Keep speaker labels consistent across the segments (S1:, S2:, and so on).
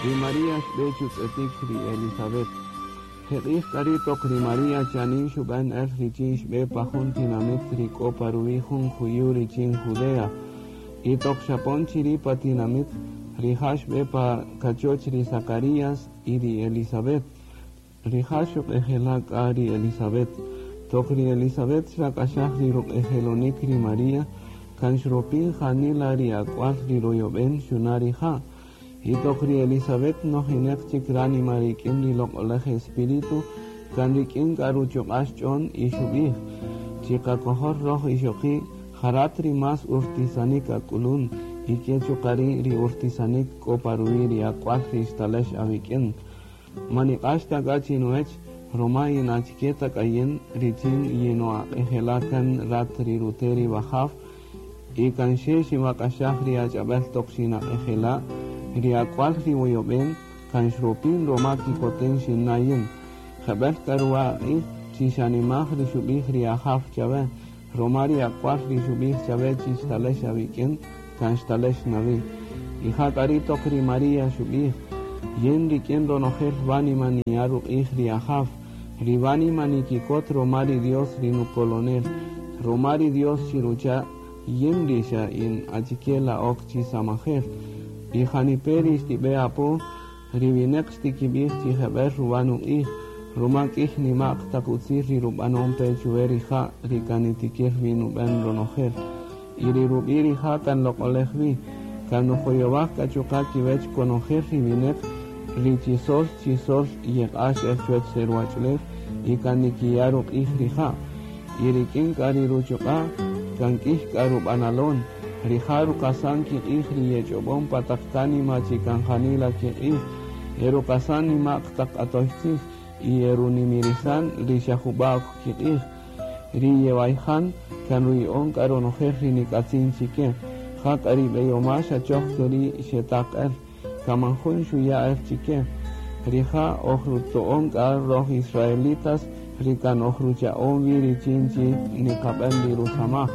S1: Ri María xb'e chutz'etik ri Elizabeth. Jeq'ij k'a ri' toq ri María chanin xub'än el richin xb'e pa jun tinamit ri k'o pa ruwi' jun juyu' richin Judea. Y toq xapon chiri' pa tinamit, rija' xb'e pa kachoch ri Zacarías y ri Elizabeth. Rija' xuq'ejela' k'a ri Elizabeth. Toq ri Elizabeth xrak'axaj ri ruq'ejelonik ri María, kan xropin janila ri ak'wal ri royob'en xuna' rija'. Y toq ri Elizabeth nojineq chik ránima rik'in ri Loq'olej Espíritu, kan rik'in k'a ruchuq'a' xch'on y xub'ij, Chiqakojol roj ixoqi', ja rat ri más urtisanik ak'ulun, y ke chuqa' ri' ri urtisanik k'o pa ruwi' ri ak'wal ri xtalex awik'in. Man niq'ax ta k'a chinuwech, roma in achike ta k'a yin richin yino'aq'ejela' kan rat ri rute' ri wajaw, y kan xe xinwak'axaj ri ach'ab'el toq xinaq'ejela', ri ak'wal ri woyob'en kan xropin roma kikoten xinna' yin. Jeb'el k'a ruwa aq'ij chi xanimaj ri xub'ij ri Ajaw chawe, roma ri ak'wal ri xub'ij chawe chi xtalex awik'in, kan xtalex na wi. Y ja k'a ri' toq ri María xub'ij, Yin rik'in ronojel wánima niya' ruq'ij ri Ajaw, ri wánima nikikot roma ri Dios ri nukolonel, roma ri Dios xirucha' yin ri xa in achike la ok chi samajel. Y janipe' ri xtib'e apo, ri wineq xtikib'ij chi jeb'el ruwa nuq'ij, roma k'iy nima'q taq utzil ri rub'anon pe chuwe rija' ri kan nitikir wi nub'en ronojel. Y ri rub'i' rija' kan loq'olej wi, kan nujoyowaj k'a chuqa' kiwech konojel ri wineq ri chi sol chi sol yeq'ax el chuwech re ruwach'ulew y kan nikiya' ruq'ij rija'. Y rik'in k'a ri ruchuq'a' kan k'iy k'a rub'analon. Rija' ruqasan kiq'ij ri yech'ob'on pa taq kánima chi kan janila kiq'ij, e ruqasan nima'q taq q'atoy tzij y e runimirisan ri xa jub'a' ok kiq'ij. Ri yewayjan kan ruya'on k'a ronojel ri nik'atzin chike. Ja k'a ri b'eyoma' xa choj keri' xetaq el, kan man jun xuya' el chike. Rija' oj ruto'on k'a roj israelitas ri kan oj rucha'on wi richin chi niqab'en ri rusamaj.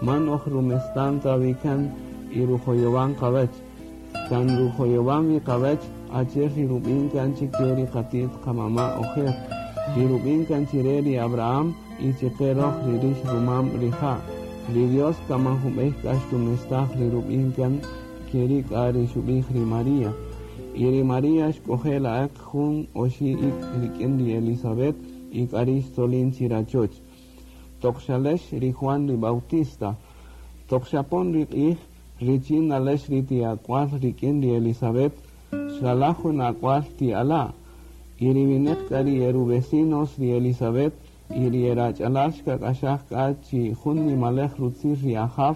S1: Man oj rumestan ta wi kan y rujoyowan qawech. Kan rujoyowan wi qawech achi'el ri rub'in kan chike ri qati't qamama' ojer, ri rub'in kan chire ri Abraham y chiqe roj ri rix rumam rija'. Ri Dios kan man jun b'ey k'a xtumestaj ri rub'in kan, keri' k'a ri xub'ij ri María. Y ri María xk'oje' la'eq jun oxi' ik' rik'in ri Elizabeth y k'ari' xtzolin chirachoch. Toq xalex ri Juan ri Bautista. Toq xapon ri q'ij richin nalex ri ti ak'wal rik'in ri Elizabeth, xralaj jun ak'wal ti ala'. Y ri wineq k'a ri e ru-vecinos ri Elizabeth y ri e rach'alal xkak'axaj k'a chi jun nimalej rutzil ri Ajaw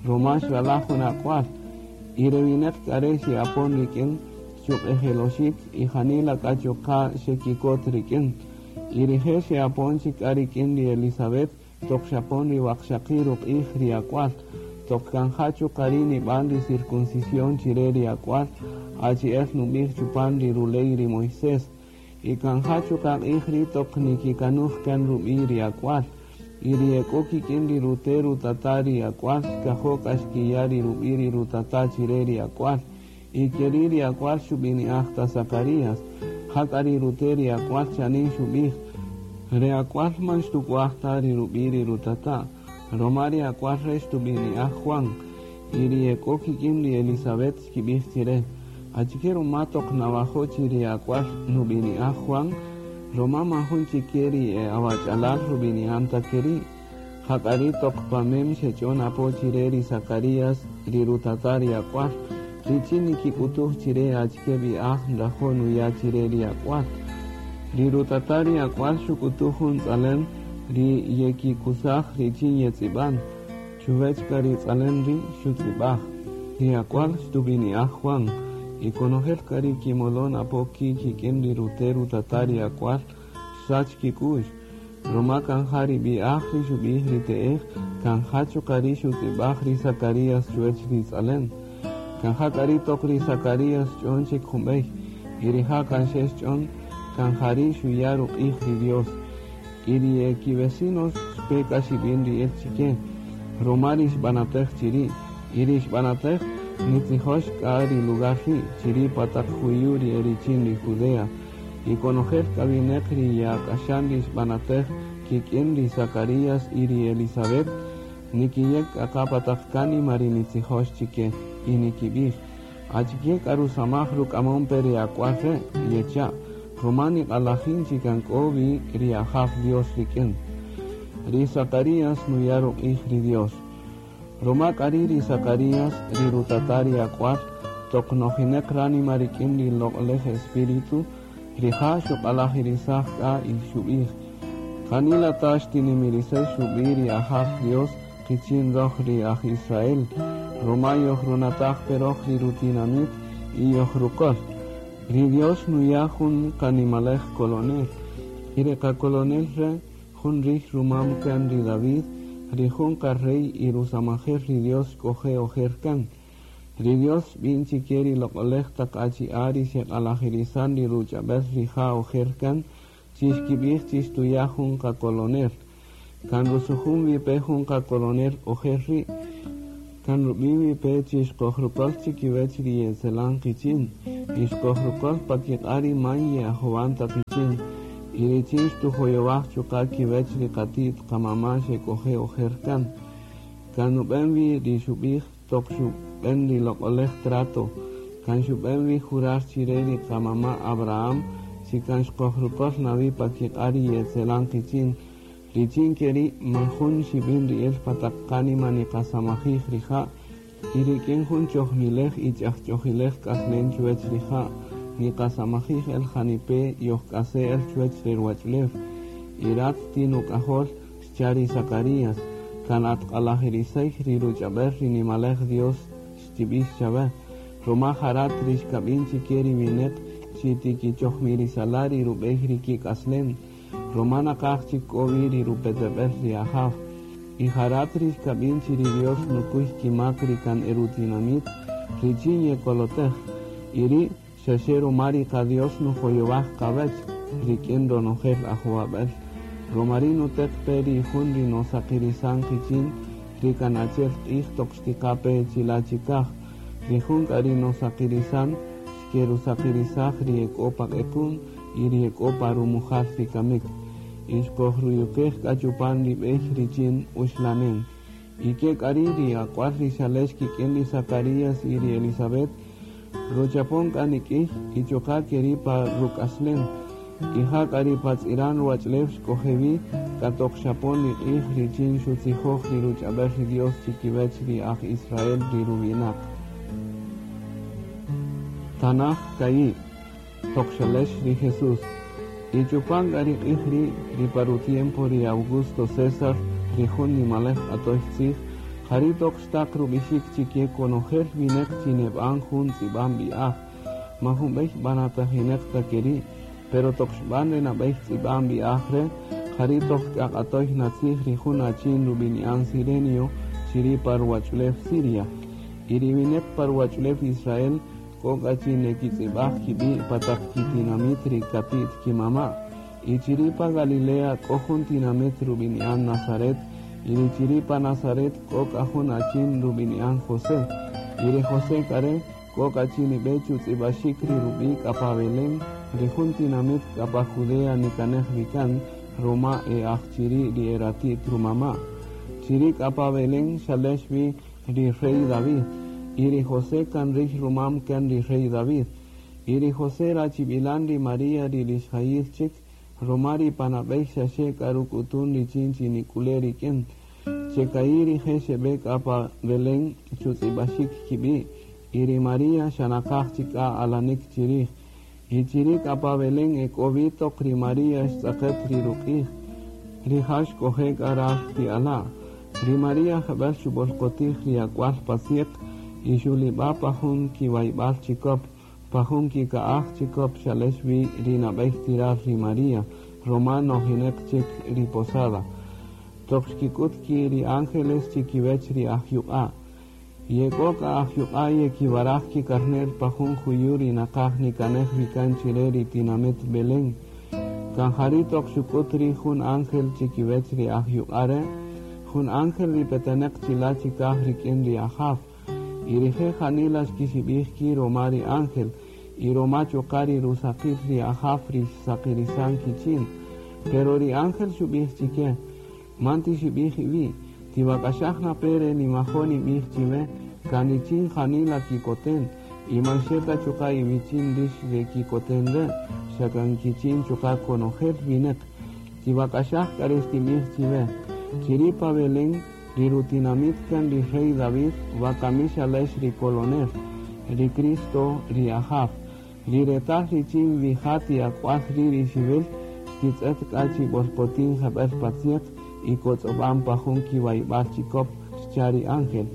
S1: roma xralaj jun ak'wal. Y re wineq k'a re' xe'apon rik'in chuq'ejeloxik y janila k'a chuqa' xekikot rik'in. Y rije' xe'apon chik k'a rik'in ri Elizabeth toq xapon ri waqxaqi' ruq'ij ri ak'wal, toq kan ja chuqa' ri' nib'an ri circuncisión chire ri ak'wal, achi'el nub'ij chupan ri ruley ri Moisés. Y kan ja chuqa' q'ij ri' toq nikikanuj kan rub'i' ri ak'wal. Y ri ek'o kik'in ri rute' rutata' ri ak'wal xkajo' k'a xkiya' ri rub'i' ri rutata' chire ri ak'wal. Y keri' ri ak'wal xub'ini'aj ta Zacarías. Jak'a ri rute' ri ak'wal chanin xub'ij, Re ak'wal man xtuk'waj ta ri rub'i' ri rutata', roma ri ak'wal re' xtub'ini'aj Juan. Y ri ek'o kik'in ri Elizabeth xkib'ij chire, Achike roma toq nawajo' chi ri ak'wal nub'ini'aj Juan? Roma man jun chike ri e awach'alal rub'ini'an ta keri'. Jak'a ri' toq pa mem xech'on apo chire ri Zacarías, ri rutata' ri ak'wal, richin nikik'utuj chire achike b'i'aj nrajo' nuya' chire ri ak'wal. Ri rutata' ri ak'wal xuk'utuj jun tz'alem ri yekikusaj richin yetz'ib'an. Chuwech k'a ri tz'alem ri' xutz'ib'aj, Ri ak'wal xtub'ini'aj Juan. Y konojel k'a ri kimolon apo ki' kik'in ri rute' rutata' ri ak'wal xsach kik'u'x. Roma kan ja ri b'i'aj ri xub'ij ri te'ej, kan ja chuqa' ri' xutz'ib'aj ri Zacarías chuwech ri tz'alem. Kan ja k'a ri' toq ri Zacarías xch'on chik jun bey, y rija' kan xe xch'on, kan ja ri' xuya' ruq'ij ri Dios. Y ri e ki-vecinos xpe k'a xib'in ri'il chike, roma ri xb'anatej chiri'. Y ri xb'anatej, Nitzijox k'a ri lugar ri' chiri' pa taq juyu' ri e richin ri Judea. Y konojel k'a wineq ri ye'ak'axan ri xb'anatej kik'in ri Zacarías y ri Elisabet, nikiyek k'a qa pa taq kánima ri nitzijox chike, y nikib'ij: Achike k'a rusamaj ruk'amon pe ri ak'wal re'? Yecha', ruma niq'alajin chi kan k'o wi ri Ajaw Dios rik'in. Ri Zacarías nuya' ruq'ij ri Dios. Ruma k'a ri' ri Zacarías, ri rutata' ri ak'wal, toq nojineq ránima rik'in ri Loq'olej Espíritu, rija' xuq'alajirisaj k'a y xub'ij: Janila ta xtinimirisex rub'i' ri Ajaw Dios qichin röj ri aj Israel, ruma yojrunataj pe röj ri rutinamit y yojruköl. Ri Dios nuya' jun qanimalej kolonel, y re qakolonel re' jun rij rumam kan ri David, ri jun qa-rey y rusamajel ri Dios xk'oje' ojer kan. Ri Dios xb'in chike ri loq'olej taq achi'a' ri xeq'alajirisan ri ruch'ab'el rija' ojer kan, chi xkib'ij chi xtuya' jun qakolonel. Kan rusujun wi pe jun qakolonel ojer ri', kan rub'in wi pe chi xqojruköl chikiwäch ri ye'etzelan qichin, y xqojruköl pa kiq'a' ri man ye'ajowan ta qichin, y richin xtujoyowaj chuqa' kiwäch ri qati't qamama' xek'oje' ojer kan. Kan nub'en wi ri xub'ij toq xub'en ri loq'olej trato, kan xub'en wi jurar chire ri qamama' Abraham chi kan xqojruköl na wi pa kiq'a' ri ye'etzelan qichin, richin ke ri' man jun xib'in ri'il pa taq qánima niqasamajij rija', y rik'in jun chojmilej y ch'ajch'ojilej k'aslen chuwäch rija', niqasamajij el janipe' yojk'ase' el chuwäch re ruwach'ulew. Y rat ti nuk'ajol, xcha' ri Zacarías, kan at q'alajirisey ri ruch'ab'el ri nimalej Dios xtib'ix chawe, ruma ja rat ri xkab'in chike ri wineq chi tikichojmirisala' ri rub'ey ri kik'aslem, ruma naqaj chik k'o wi ri rupeteb'el ri Ajaw. Y ja rat ri xkab'in chi ri Dios nukuy kimak ri kan e rutinamit richin yekolotej, y ri' xaxe ruma ri qa-Dios nujoyowaj qawäch rik'in ronojel ajowab'äl. Ruma ri' nuteq pe ri jun ri nosaqirisan qichin ri kan achi'el q'ij toq xtiqa pe chila' chikaj, ri jun k'a ri nosaqirisan xkerusaqirisaj ri e k'o pa q'equm y ri e k'o pa rumujal ri kamik, y xqojruyuqej k'a chupan ri b'ey richin uxlanen. Y ke k'a ri' ri ak'wal ri xalex kik'in ri Zacarías y ri Elisabet, ruchapon k'a nik'iy y chuqa' ke ri' pa ruk'aslen. Y ja k'a ri pa tz'iran ruwach'ulew xk'oje' wi, k'a toq xapon ri q'ij richin xutzijoj ri ruch'ab'el ri Dios chikiwäch ri aj Israel ri ruwinaq. Tanaj ka'i', toq xalex ri Jesús. Y chupan k'a ri q'ij ri', ri pa ru-tiempo ri Augusto César, ri jun nimalej q'atoy tzij, ja ri' toq xtaq rub'ixik chike konojel wineq chi neb'an jun tz'ib'an b'i'aj. Man jun b'ey b'anatajineq ta ke ri', pero toq xb'an re nab'ey tz'ib'an b'i'aj re', ja ri' toq k'a q'atoy na tzij ri jun achin rub'ini'an Sirenio chiri' pa ruwach'ulew Siria. Y ri wineq pa ruwach'ulew Israel k'o k'a chi nekitz'ib'aj kib'i' pa taq kitinamit ri kati't kimama'. Y chiri' pa Galilea k'o jun tinamit rub'ini'an Nazaret, y ri chiri' pa Nazaret k'o k'a jun achin rub'ini'an José. Y ri José k'a re' k'o k'a chi nib'e chutz'ib'axik ri rub'i' k'a pa Belén, ri jun tinamit k'a pa Judea nikanej wi kan, ruma e aj chiri' ri e rati't rumama'. Chiri' k'a pa Belén xalex wi ri rey David, y ri José kan rij rumam kan ri rey David. Y ri José rachib'ilan ri María ri rixjayil chik, ruma ri panab'ey xaxe k'a ruk'utun richin chi nik'ule' rik'in. Cheka'i' rije' xeb'e k'a pa Belén chutz'ib'axik kib'i', y ri María xa naqaj chik k'a alanik chirij. Y chiri' k'a pa Belén e k'o wi toq ri María xtz'aqet ri ruq'ij, rija' xk'oje' k'a ral ti ala'. Ri María jeb'ël xub'olqotij ri ak'wal pa tzieq y xulib'a' pa jun kiwayb'al chikop, pa jun kika'aj chikop xalex wi ri nab'ey ti ral ri María, ruma nojineq chik ri posada. Toq xkik'ut ki' ri ángeles chikiwech ri ajyuq'a'. Ye k'o k'a ajyuq'a' yekiwaraj kikarne'l pa jun juyu' ri naqaj nikanej wi kan chire ri tinamit Belén. Kan ja ri' toq xuk'ut ri' jun ángel chikiwech ri ajyuq'a' re', jun ángel ri peteneq chila' chikaj rik'in ri Ajaw. Y rije' janila xkixib'ij ki' roma ri ángel y roma chuqa' ri rusaqil ri Ajaw ri xsaqirisan kichin. Pero ri ángel xub'ij chike: Man tixib'ij iwi', tiwak'axaj na pe re niwajo' nib'ij chiwe, kan richin janila kikoten, y man xe ta chuqa' iwichin rix re kikoten re', xa kan kichin chuqa' konojel winäq. Tiwak'axaj k'a re xtinb'ij chiwe: Chiri' pa Belén, ri rutinamit kan ri rey David, wakami xalex ri Kolonel, ri Cristo, ri Ajaw. Ri retal richin wi ja ti ak'wal ri' ri xiwïl, xtitz'et k'a chi b'olqotin jeb'ël pa tzyäq y kotz'ob'an pa jun kiwayb'al chikop, xcha' ri ángel.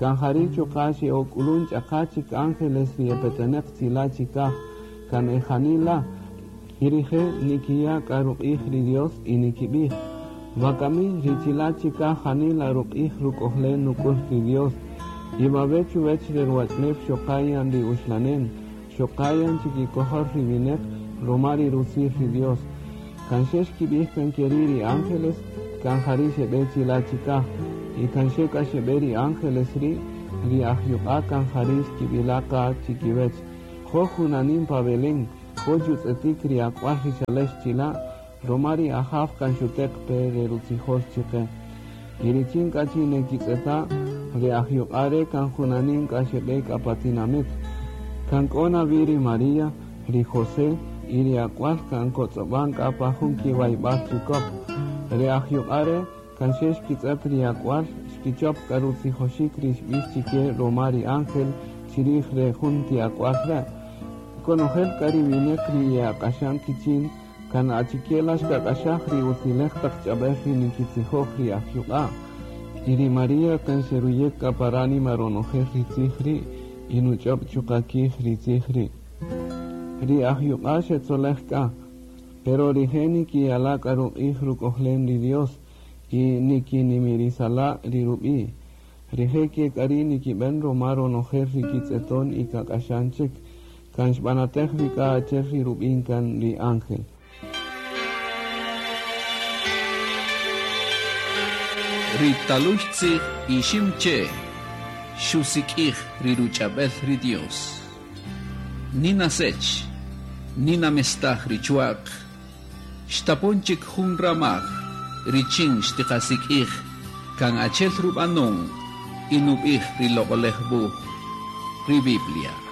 S1: Kan jari' chuqa' xe'ok'ulun ch'aqa chik ángeles ri epetenäq chila' chikaj, kan e janila, y rije' nikiya' k'a ruq'ij ri Dios y nikib'ij: Wakami ri chila' chikaj janila ruq'ij ruk'ojlen nuk'ul ri Dios, y wawe' chuwech re ruwach'ulew xoqa yan ri uxlanen, xoqa yan chikikojol ri winäq roma ri rutzil ri Dios. Kan xe xkib'ij kan ke ri' ri ángeles, kan jari' xeb'e chila' chikaj, y kan xe k'a xeb'e ri ángeles ri', ri ajyuq'a' kan jari' xkib'ila' qa chikiwech: Jo' junanin pa Belén, jo' chutz'etik ri ak'wal ri xalex chila', roma ri Ajaw kan xuteq pe re rutzijol chiqe. Y richin k'a chi nekitz'eta', ri ajyuq'a' re' kan junanin k'a xeb'e k'a pa tinamit. Kan k'o na wi ri María, ri José y ri ak'wal kan kotz'ob'an k'a pa jun kiwayb'al chikop. Ri ajyuq'a' re' kan xe xkitz'ët ri ak'wal, xkichop k'a rutzijoxik ri xb'ix chike roma ri ángel chirij re jun ti ak'wal re'. Konojel k'a ri winäq ri ye'aq'axan kichin, kan achike la xkak'axaj ri utziläj taq ch'ab'äl ri nikitzijoj ri ajyuq'a'. Y ri María kan xeruyek k'a pa ránima ronojel ri tzij ri' y nuch'öb' chuqa' kij ri tzij ri'. Ri ajyuq'a' xetzolej k'a, pero rije' nikiyala' k'a ruq'ij ruk'ojlen ri Dios y nikinimirisala' ri rub'i'. Rije' ke k'a ri' nikib'än roma ronojel ri kitz'eton y kak'axan chik, kan xb'anatej wi k'a achi'el ri rub'in kan ri ángel.
S2: Ri talüy tzij Iximche' xusik'ij ri ruch'ab'äl ri Dios. Nina Sech, Nina mestaj ri chwa'q, xtapon chik jun ramaj richin xtiqasik'ij kan achi'el rub'anon y nub'ij ri Loq'oläj Wuj, ri Biblia.